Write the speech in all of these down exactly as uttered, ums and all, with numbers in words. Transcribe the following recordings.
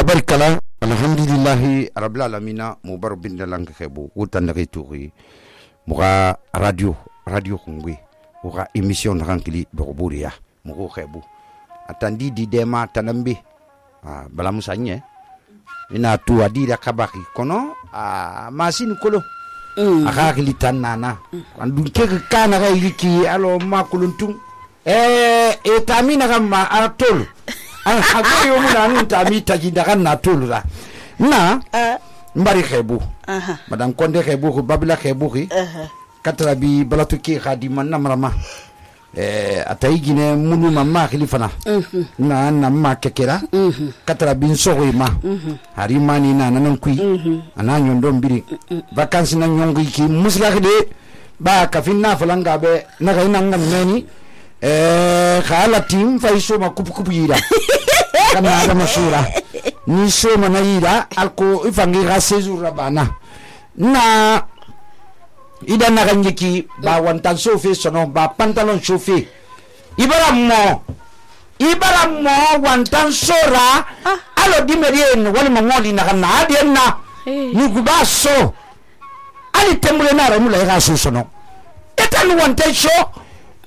tabarikala alhamdulillahi rabbil alamina mubarak bin dalan khebo utan da turi muga radio radio khungwe uga emission rankili dogburiya mugo khebo atandi di dema tanambe ah bala musanye ina tu adira kabaki kono ah masin kolo mm. aka kili tanana mm. andu ke kana ga yiki alo makuluntung eh e tamina kama atol an hago yo muna nun tami tajinda kan natol la na uh. mbari khebu uh-huh. madam konde khebu ko babila khebu ki uh-huh. katra bi balatu ki khadima namrama eh ataigine munu mamma khilifana uh-huh. na na ma kekera uh-huh. katra bin sogo ma uh-huh. harimani na nanan kui uh-huh. ana nyondo mbiri uh-huh. vacances na nyongi ki musla khide ba kafina falanga be na ga inanga meni eh khala tim faiso ma kupu kupu yira kana ada masura ni so mana yira alko ifangi ga sezura bana na ida na ganjiki ba wantan sofe sono ba pantalon sofe ibara mo ibara mo wantan sora ah. alo dimerien wala mangoli na kana adienna hey. ni guba so ali temule na ramula ga so sono etan wantan so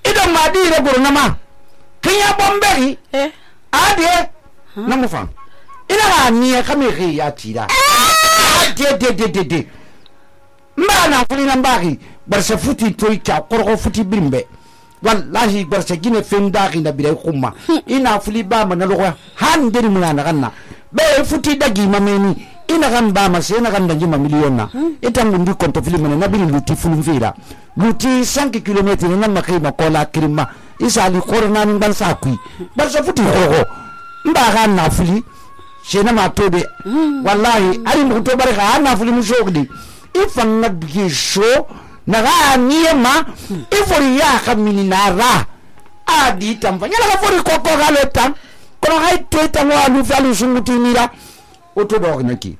ida madi re gurnama kinya bomberi eh adie huh? na mufan ina ga niya kameri ya tira de de de de de mana fulina mbaki barsa futi toy ka korko futi bimbe wallahi barsa gine fenda ki na biray kuma ina fuli ba man lo han deri mun na kanna be futi dagi mameni ina kan ba ma se na kan danji ma million na etan ngundi konto fili man na biri luti fulun fira luti cinq kilomètres na makai ma kola kirima isa li korona min ban sa kui barsa futi korko mba ga na fuli shena ma tobe wallahi ari mu to barka na fuli mu shogdi ifan na bige sho na ga niema ifori ya kamini nara adi tamfanya la fori koko ga le tam kono hay teta mo alu falu sunguti mira oto dog naki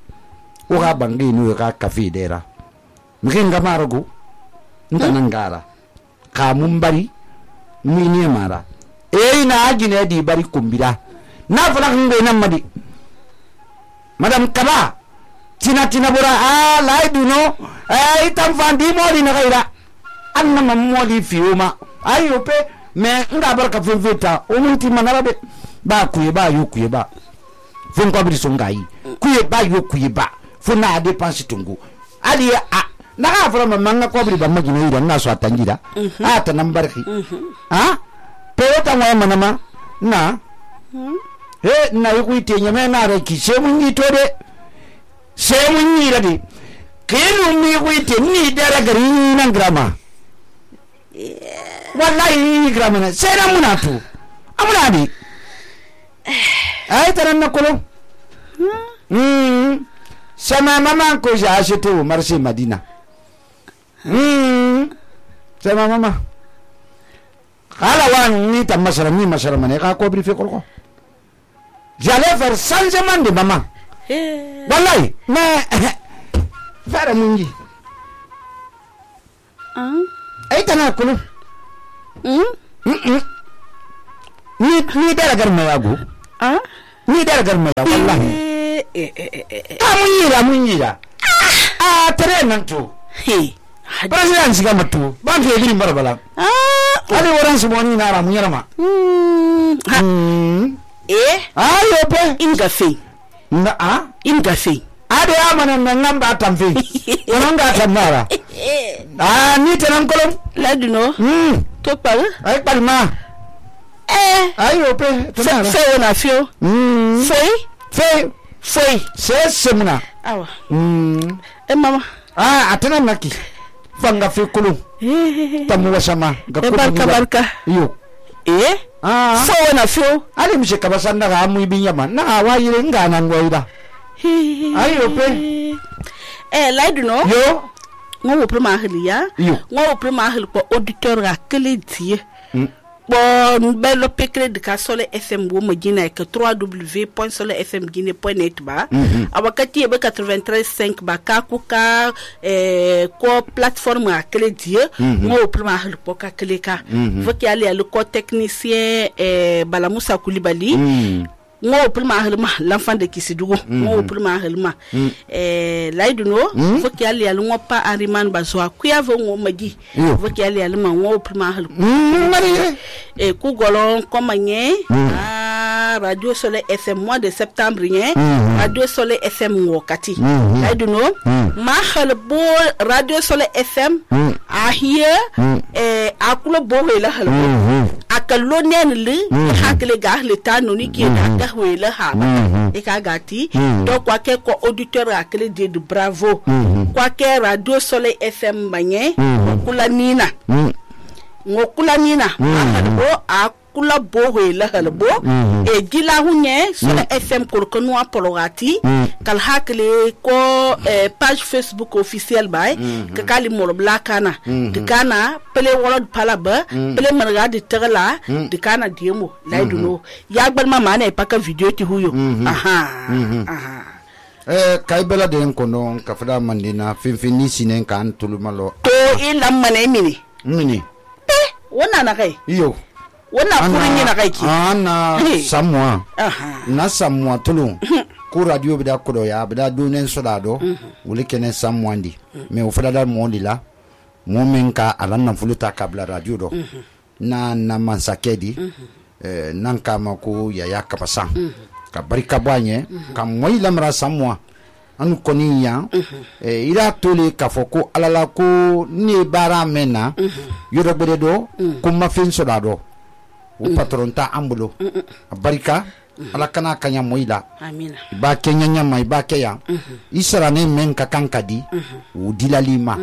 o ga bangi nu ga kafi dera mgenga marago ntanangara ka mumbari mini mara e na agine di bari kumbira na fala ngwe na madi madam kaba tina tina bora ah laidu no eh itam fandi moli na gaira anna mamoli fiuma ayo pe me nga barka feveta o munti manarabe ba kuye ba yo kuye ba fun ko bi songai kuye ba yo kuye ba funa dépense tungu ali a na ga fara mamanga ko bi ba magina ida na so atangira a ta nambarki ha pe ta mo manama na eh na yi kuite nyame na re ki se mun yi to de se mun yi radi kenu mi kuite ni dara gari nan grama wallahi grama na se na munatu amuna di ay taran na kolo hmm sama mama ko ja acheto marché Madina hmm sama mama kala wan ni ta masara ni masara mane ka ko briefé ko j'allais faire changement de maman hey. Wallahi mais faire mungi hein ay tana ko hmm hmm ni ni dara gar mayago ah ni dara gar mayago wallahi eh eh eh amunyira amunyira ah tere nan to he president siga matu ban ke biri marbala ah ali waran suboni na ramunyira ma hmm eh ayo pe ingafe na a ingafe ade amana ngamba tamfe onanga tamara ah ni tenan kolom laduno hmm to pal ay palma eh ayo pe tonara fe ona fio hmm fe fe fe se semuna awa hmm e mama ah atana naki fanga fe kolom tamu wasama ga barka barka yo eh ah so na fio ali mse kabasanda ga mu ibinyama na wayire ngana ngoida ayo pe eh laiduno yo ngo pro ma hliya ngo pro ma hli ko auditeur ga kele die bon belo pekre de ka sole fm wo magina ke w w w point sole f m guinée point net ba awakati be quatre-vingt-treize cinq ba ka ku ka eh ko plateforme a kele die ngo pro ma hli ko ka kele ka voki ali le ko technicien eh Bala Moussa Koulibaly ngo prima halma l'enfant de Kisidugu ngo prima halma eh laiduno fo ki ali al ngo pa ariman bazwa ku ya vo ngo magi fo ki ali al ma ngo prima halma e ku golon komanye ah radio Soleil F M mois de septembre yen radio Soleil F M ngo kati laiduno ma halbo radio Soleil F M a here eh akulo bo la halbo akalo nen li hakle ga le tanoni ki da wele ha e ka gati donc kwa ke ko auditeur akle de bravo kwa ke radio Soleil F M banye kula nina ngokula nina halbo akula bo wele halbo e gila hunye Soleil F M ko ko no apologati kal hakle ko page Facebook officiel bay ka kali mor blakana de kana pele wala palaba pele marga de terla de kana diemo laiduno ya gbal mama na ipaka video ti huyo aha aha eh kaibela de kono ka fada mandina finfini sinen kan tulumalo to ila mane mini mini eh wona na kai iyo wona kurin yana kai ki ana samwa aha na samwa tulun ku radio bida kodo ya bida dunen sodado wuli kene samwandi me o fada dar mo lila mo men ka alanna fuluta kabla radio do na na mansakedi eh nan kama ko ya ya kapasan ka barika banye ka moy lamra samwa anu koni ya eh ira tole ka foko alala ko ni bara mena yodo bede do ko ma fin sodado o patron ta ambulo barika ala kana kanya moila amina ba kenya nyama ba keya isra ne men ka kankadi o dilalima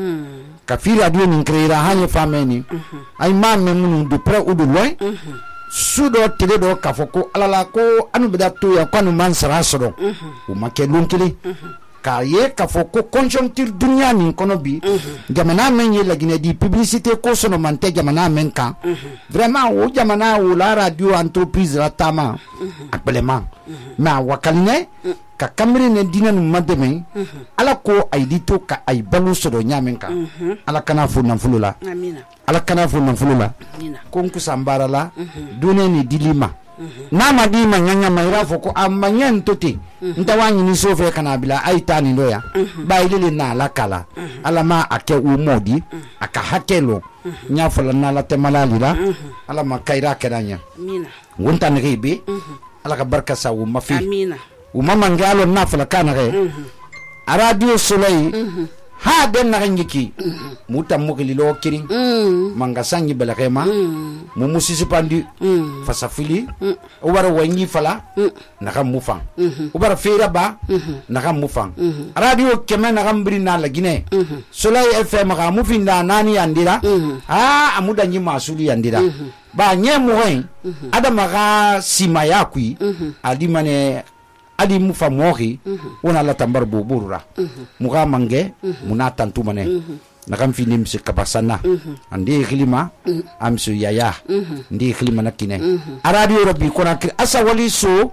ka fi radio min kreira hanye fameni ay ma men munu de pre ou de loin sudo tele do ka foko alala ko anu beda to ya kwanu man sara sodo o make lunkili ka ye ka foko conjoncture dunya ni kono bi jamana men ye lagine di publicité ko sono mante jamana men kan vraiment o jamana o la radio entreprise la tama appellement ma wakaline ka kamri ne dinan mademe ala ko ay dito ka ay balu sodo nyamen kan ala kana fu nan fulula amina ala kana fu nan fulula amina ko ku sambara la dune ni dilima na ma di ma nyanya mayra foko amanyen tote ntawani ni sofe kana bila aita ni ndoya ba ilele na la kala ala ma ake u modi aka hakelo nya fola na la temala lila ala ma kaira kedanya amina wonta ne rebe ala ka barka sa u mafi amina u mama ngalo na fola kana re radio Soleil ha den na ngiki muta mukili lo kirin manga sanyi balakema mu musisi pandi fasafili o wara wanyi fala naka mufan o bara fera ba naka mufan radio keme naka mbiri na la Guinée Soleil F M ga mufin na nani yandira ah amuda nyi masuli yandira ba nye moyen adama ga simaya kui adi mane adi mufa mohi ona la tambar boburura muga mange muna tantu mane nakam finim se kabasana andi khilima amsu yaya ndi khilima nakine aradio rabbi kona asa wali so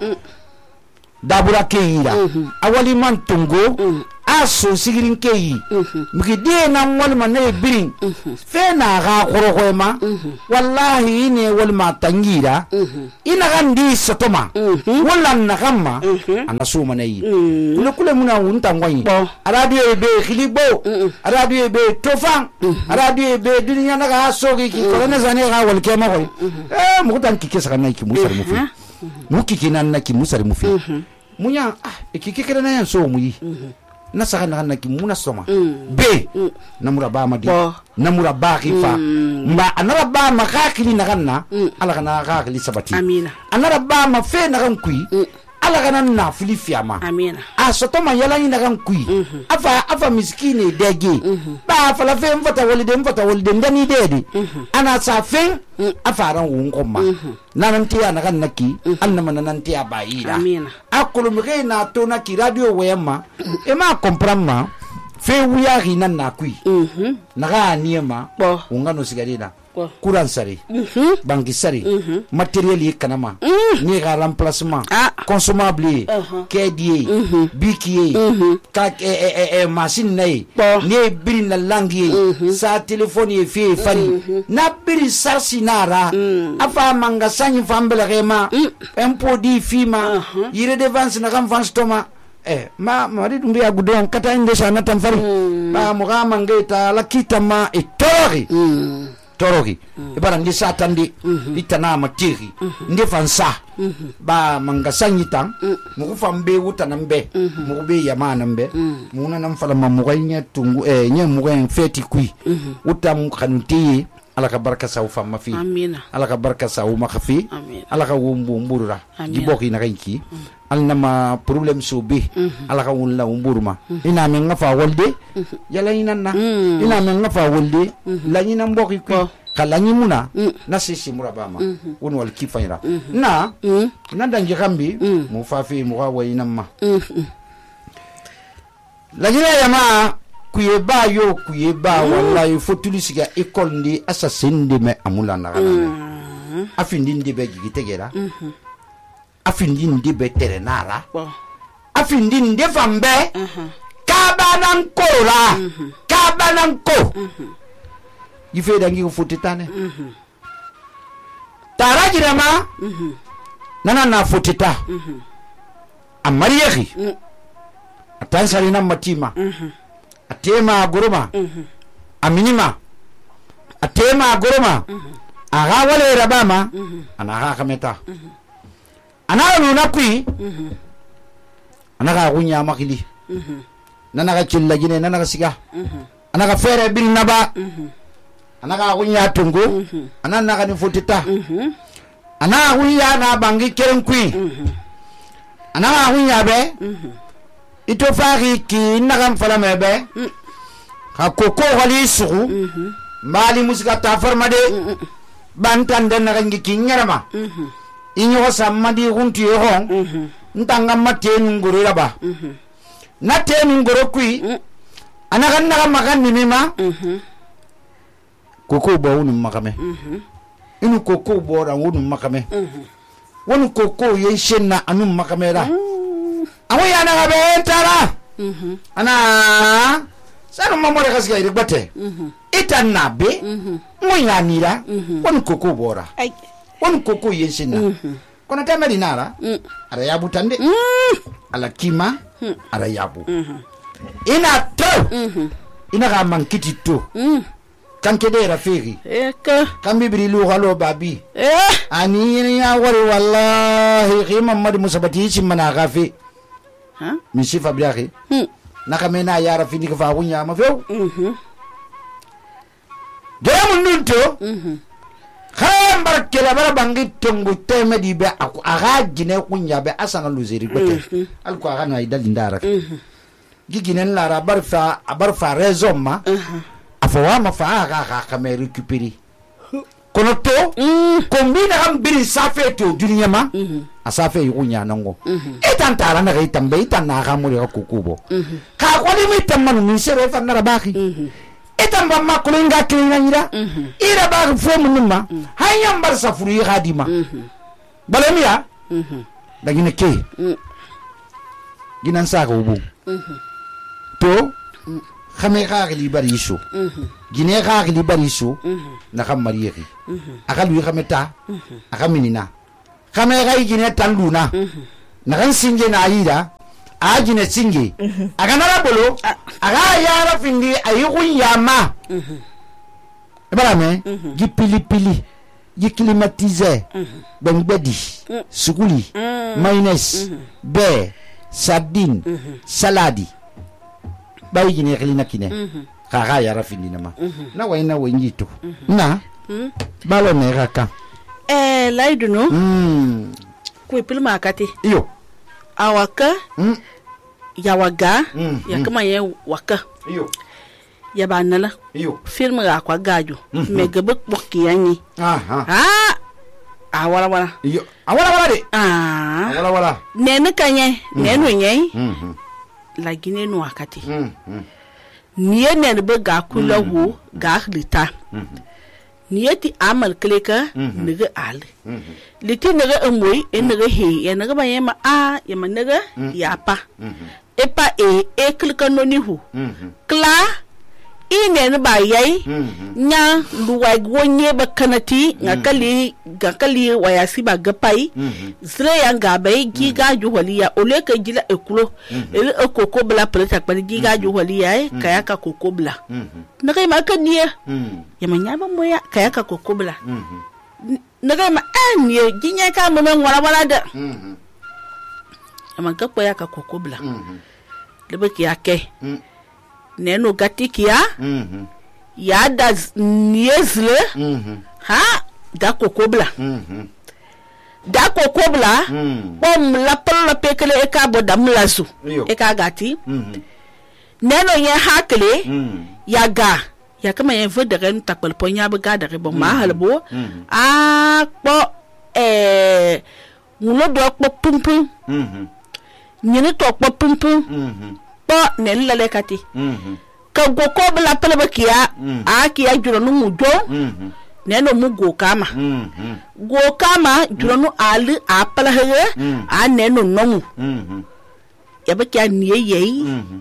dabura keira awali man tungo aso sigirin keyi mugi de na wal manay birin fe na ga khorokhema wallahi ne wal ma tangira ina gandi satoma wala na gamma anasu manay kule kule muna unta ngwani radio be khilibo radio be tofan radio be dunya na ga sogi ki ko na zane ga wal kema ko eh mu tan ki kesa na ki musar mufi mu ki kinan na ki musar mufi munya ah ki ki kera na yan so muyi na saka na na ki muna soma be namura ba madi namura ba khifa ma anara ba ma khakili na ganna ala kana khakili sabati amina anara ba ma fe na kan kui ala kana na fili fiama amina a soto ma yala ni na kan kui afa afa miskini dege ba fa la fe mfata walide mfata walide ndani dede ana sa fe afaran wun komma nanan tiya na kan naki annama nanan tiya bayira amina akulu mge na to na ki radio wema e ma comprendre ma fe wuya hinan na kui naga niema bo ungano sigarina courant sari banki sari matériel yi kanama ni ga remplacement consommable kédié bikié ka e machine nay ni biri na langue sa téléphone yi fi fari na biri sarsi nara afa manga sanyi fambele rema impôt di fima yire défense na kam fanstoma eh ma mari dumbi agudon kata inde sana tamfari ba muga mangeta la kitama e tori torogi e bara ndi satandi itana matiri ndi fansa ba manga sanyitan mugu fambe wutanambe mugu be yamana mbe muna nam fala mamuga nya tungu eh nya muga en feti kui utam khanuti ala ka barka sa ufa mafi amina ala ka barka sa u makhafi ala ka wumbu mburura giboki na kanki alna ma problem so be ala ka wunla umburuma ina men ngafa walde yala ina na ina men ngafa walde la ina mboki ku kala ni muna na sisi murabama won wal kifaira na na dangi gambi mu fafi mu wa ina ma la gina yama kuyeba yo kuyeba wallahi fotuli siga école ndi assassin de me amula na kana afindi ndi be gitegera afindi ndi be terenara afindi ndi fambe kabanan kora kabanan ko yife dangi ko fotitane tarajira ma nana na fotita amariyehi atansari na matima atema goroma aminima atema goroma aga wale rabama ana ga kameta ana nuna kui ana ga gunya makili nana ga chilla gine nana ga siga ana ga fere bil naba ana ga gunya tungu ana na ga ni futita ana gunya na bangi keren kui ana ga gunya be ito fari ki nagam fala mebe ka koko wali sugu mali musika ta farmade bantan den nagangi ki nyarama inyo samadi hunti yo ntanga matenu ngoro raba na tenu ngoro kui anaga naga magan ni mima koko bo unu makame inu koko bo ra unu makame wonu koko ye shenna anu makamera awo yana ga bentara mhm ana sanu mamore kasga iri bate itan nabe mo yanira won koko bora won koko yensina kona tamari nara ara yabu tande ala kima ara yabu ina to ina ga mankiti to kanke de rafiri eka kambi brilu halo babi eh ani ya wari wallahi khima mad musabati simana gafi ha mi sifa biahi nakamena ya rafini ka fa wunya ma few mhm demu nunto mhm khambar kala bara bangi tongu teme di be aku aga gine kunya be asana luzeri gote alko aga na idal ndara giginen lara barfa barfa rezoma afawa ma fa aga ga kame récupérer kono to kombina am biri safe to dunya ma asafe yunya nango etan tara na gaitan be etan na ga muri ko kubo ka ko ni mitamman min sere fa na rabaki etan ba ma ko nga kinga nyira ira ba fo mun ma hayam bar safuru yi hadima balamiya dagine ke ginan sa ko bu to khame khagli bariso gine khagli bariso na kham mariyeki akalu khameta akaminina khame gai gine tanduna na kan singe na ayida a gine singe aga na bolo aga yara findi ayi kunyama barame gi pili pili gi climatiser ben bedi sukuli mayonnaise be sardine saladi bayi gine khilina kine khaga yara findi nama na wayna wayito na balo ne raka eh laiduno mm ku pilma akati iyo awaka mm yawaga mm. yakama ye waka iyo yabanala iyo film ga kwa gaju mm -hmm. mega bokki yanyi aha ah awala wala iyo awala wala de ah awala wala nene kanye mm. nenu nyei mhm la gine no akati mhm niye ne be ga kula wo ga lita niyeti amal kleka nege al liti nege emoy e nege he ya nege ba yema a ya manege ya pa e pa e e kleka no ni hu kla ine ne ba yai nya luwa gwonye ba kanati ngakali ngakali wayasi ba gapai zre ya ngabe giga juholiya ole ka gila ekulo ele ekoko bla preta pa giga juholiya kaya ka koko bla naga ma ka niye ya manya ba moya kaya ka koko bla naga ma anye ginya ka mo ngwara wala da ama ka ya ka koko bla lebe ki ake neno gatikia mm-hmm. ya da niezle mm-hmm. ha da kokobla mm-hmm. da kokobla mm-hmm. bom la pala pekele e ka bo damlazu e ka gati mm-hmm. neno ye hakle mm-hmm. ya ga ya kama ye vo de ren takpel ponya be ga de bo ma halbo mm-hmm. a po eh mulo do po pumpum mhm nyine to po pumpum mhm po ne lele kati mhm ka go ko bla pele be kiya a kiya juro no mujo mhm ne no mu go kama mhm go kama juro no ali a pala he a ne no no mu mhm ya be kiya niye yei mhm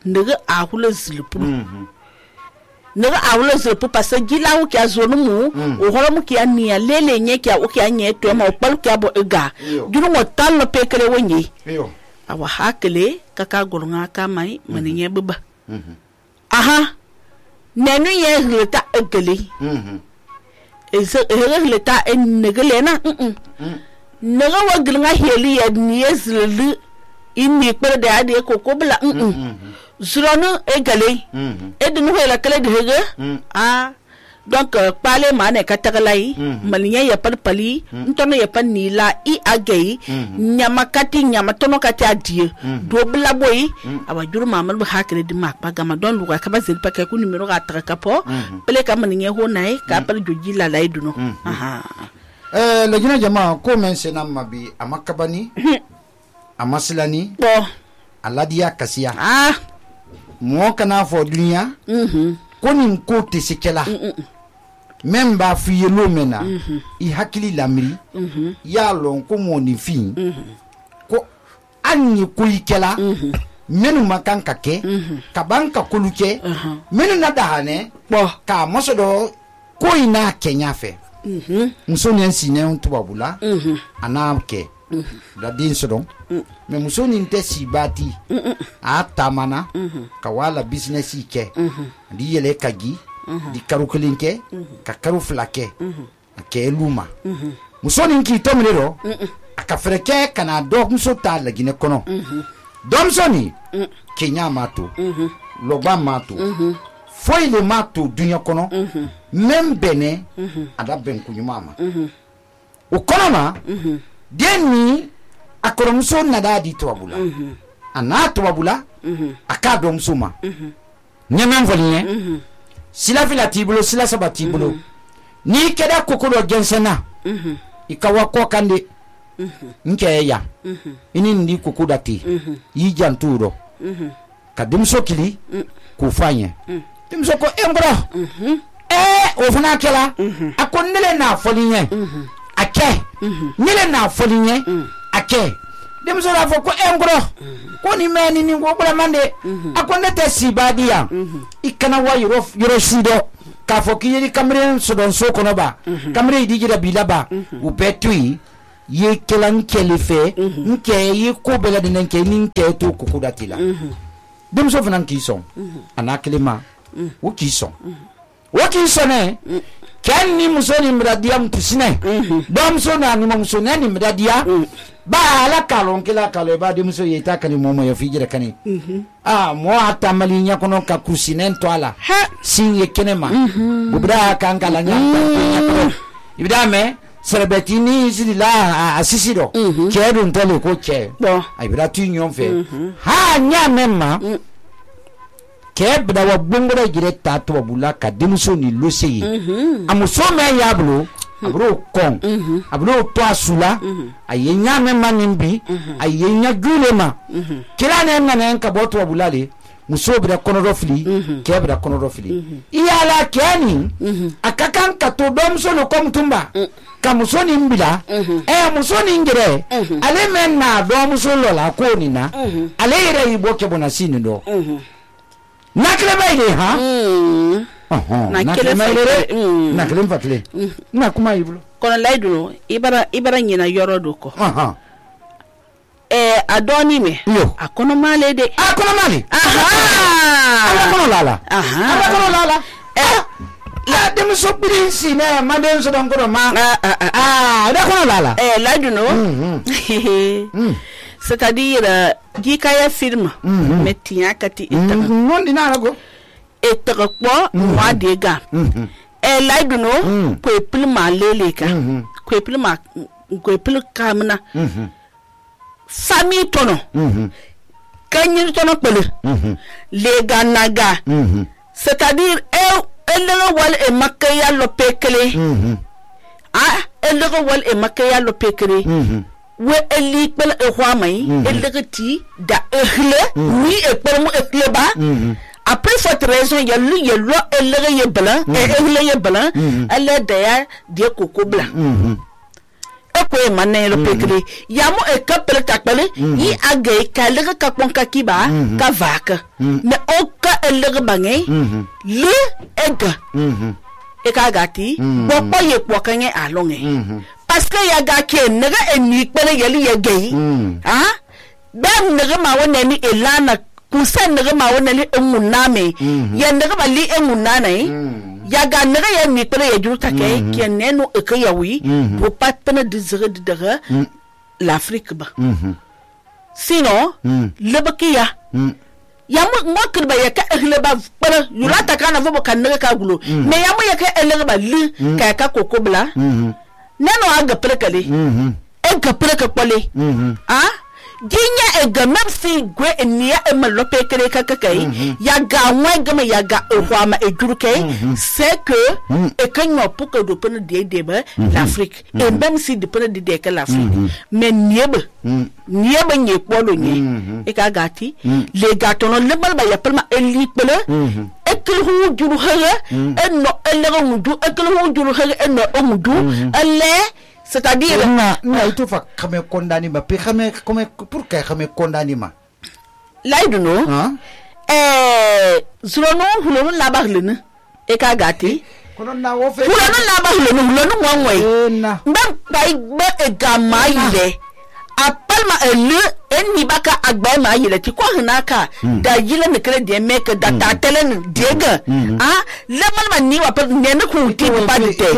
ndege a hule zilpu mhm nega awlo zepu parce gila u kya zonu mu o holo mu kya niya lele nye kya u kya nye to ma opal kya bo ega juru mo tal no pekele wonyi yo awa hakele kaka golunga ka mai mani nye baba mhm aha nenu ye leta egele mhm eze ere leta en negele na mhm nega wa gilnga heli ya niye zlelu inni pere de ade koko bla mhm Zuronu egale edunu hela kala de hege ah donc parler mane katagalai malinya ya par pali ntono ya pan nila i agei nyama kati nyama tono kati adie do bla boy aba juru mamal bu hakere di mak bagama don lu ka ba zel pa ka ku numero ga tra kapo pele ka malinya ho nai ka par joji la lai duno aha eh le jina jama ko men senam mabi amakabani amasilani bo aladia kasia ah mo kana fo dunya mhm konin ko tesekela même ba fiye lo mena i hakili lamri mhm ya lon ko mo ni fin ko anni ko ikela menu makanka ke ka banka koluke menu na dahane bo ka mosodo ko ina kenya fe mhm musoni ensine on tubabula mhm anamke da din sodon me musoni nte sibati a tamana ka wala business ike di yele kagi di karu kelinke ka karu flake ke luma musoni nki tomrero aka freke kana do muso ta la gine kono domsoni kenya mato logba mato foi le mato dunya kono même bene ada ben kunyuma o kono ma deni akoromso nadadi tobula mhm ana tobula mhm aka domsuma mhm nyamam volinye mhm sila fila tibulo sila sabati bulo ni keda kokolo gensena mhm ikawa ko kande mhm nke ya mhm ini ndi kokudati mhm yi janturo mhm ka dumso kili ku fanye dumso ko embro mhm eh ofuna kela akonnele na folinye mhm ake nile na folinye ake dem so la fo ko engro ko ni meni ni go bula mande akonde te sibadia ikana wa yoro yoro sido ka fo ki yiri kamre so don so kono ba kamre di jira bilaba u betui ye kelan kelife nke ye ko bela de nke ni nke to ko kudatila dem so fanan ki son anaklema o ki son o ki sone ken ni musoni mradia mtusine dom so na ni musoni ni mradia ba ala kalon kila kalo ba de muso yeta kan momo yo fijira kani ah mo ata malinya kono ka kusinen to ala sin ye kenema bubra kan kala nya ibida me serebetini zilila asisido kedu ntole ko che ai bra tu nyon fe ha nya memma kebda wa bongora direta to bula ka demuso ni loseye amuso me yablo abro kon abro to asula ayenya me manimbi ayenya gulema kila ne ngana nka boto bula le muso bira kɔnɔdɔ fili kɛ bira kɔnɔdɔ fili iyala kɛ nin a ka kan ka to dɔmuso no kɔmutunba ka muso nin bila ɛ muso nin gɛrɛ ale mɛ na dɔmuso lɔ la ko nin na ale yɛrɛ y'i bɔ kɛbɔnna si nin dɔ nakilema yi de han nakilema yi de nakilema fatile na kuma yi bolo kɔnɔ layidu i bara i bara ɲina yɔrɔ do kɔ a dɔɔni mɛ a kɔnɔmale de a kɔnɔmale ala kɔnɔ lala ala kɔnɔ lala la denmuso biri si ne ma denmuso dɔn kɔrɔ ma ala kɔnɔ lala layidu no c'est-à-dire jikaya film mais tiɲa ka ti ita non dina rago ita ko wa de ga e layidu no ko epil ma lele ka ko epil ma ko epil kamna famille tono kanyi tono pele lega naga c'est-à-dire e elero wal e makaya lo pekele ah elero wal e makaya lo pekele we eli pele e khwamai elegati da ehle oui e permo ehle ba après cette raison il y a lui il y a lo elere ye blanc e ehle ye blanc elle d'ailleurs die coco blanc eko e manne lo pekele yamo e kapele takpele yi age ka lega ka ponka kiba ka vaka mais o ka elere bangé le ega e ka gati bo po ye po kanye alonge parce que ya ga ke nega eni pele yeli ye gay ha ben nega ma wona ni elana kusen nega ma wona ni emuname ya nega ba li emunana ya ga nega ya ni pele ye juta ke ke neno e ka yawi pour pas peine désirer de dere l'Afrique ba sinon le bakiya ya mo mo kirba ya ka ehle ba pele yulata kana vo kan nega ka gulo mais ya mo ya ka ehle ba li ka ka kokobla neno aga prekale e ga preka kwale ah ginya e ga mapsi gwe enia e malope kere kakakai ya ga nwa ga me ya ga ohwama e juruke c'est que e kanyo puka do pene de deba l'Afrique et même si de pene de de que l'Afrique mais niebe niebe nye kwolo nye e ka gati le gatono le balba ya pelma eli pele e kelu juru hege e no ele ngudu e kelu juru hege e no ngudu ele c'est-à-dire na na itu fa kame kondani ma pe kame kame pour que kame kondani ma laidu no eh zurono hulono la baglene e ka gati kono na wo fe hulono la baglene hulono wanwe mbam bai be e gama ile apalma ele eni baka agba ma yele ti ko hinaka da yile ne kre de make da ta telen dega ah le man man ni wa per ne ne ku ti ba de te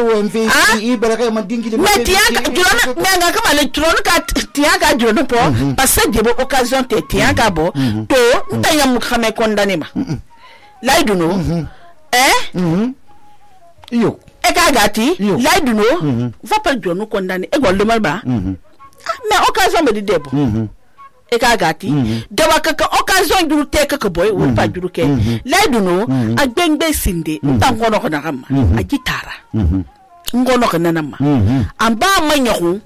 ah i bereke man dingile mais tiaka jona me nga ka le tron ka tiaka jona po parce que de occasion te tiaka bo to ntanya mu khame condamné ma laidu no eh yo e ka gati laidu no va pas jona condamné e gol de mal ba mais occasion me de debo e ka gati dawa kaka occasion juru te kaka boy wo pa juru ke laidu no agbengbe sinde ntangono ko na kama agitara ngono ko nanama amba manyahu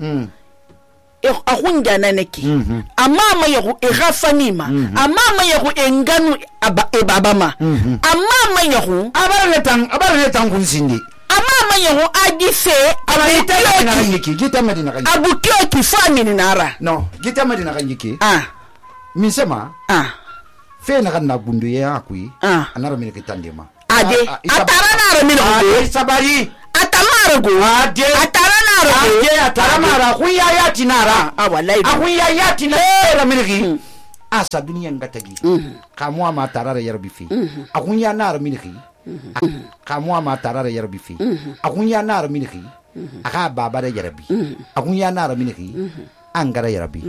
e ahunja naneki ama manyahu e rafanima ama manyahu e nganu aba e babama ama manyahu abare tan abare tan kun sinde ama manyahu agise abita na kanyiki gita medina kanyiki abutio ki family nara no gita medina kanyiki ah misema ah fe na kana gundu ya akui ah anara mine kitandema ade atara nara mine ade sabari atamara go ade atara nara ade atara mara kuya ya tinara ah wallahi akuya ya tinara mine ki asa duniya ngatagi kamwa ma tarara yarbi fi akunya nara mine ki kamwa ma tarara yarbi fi akunya nara mine ki aka baba da yarbi akunya nara mine ki angara yarbi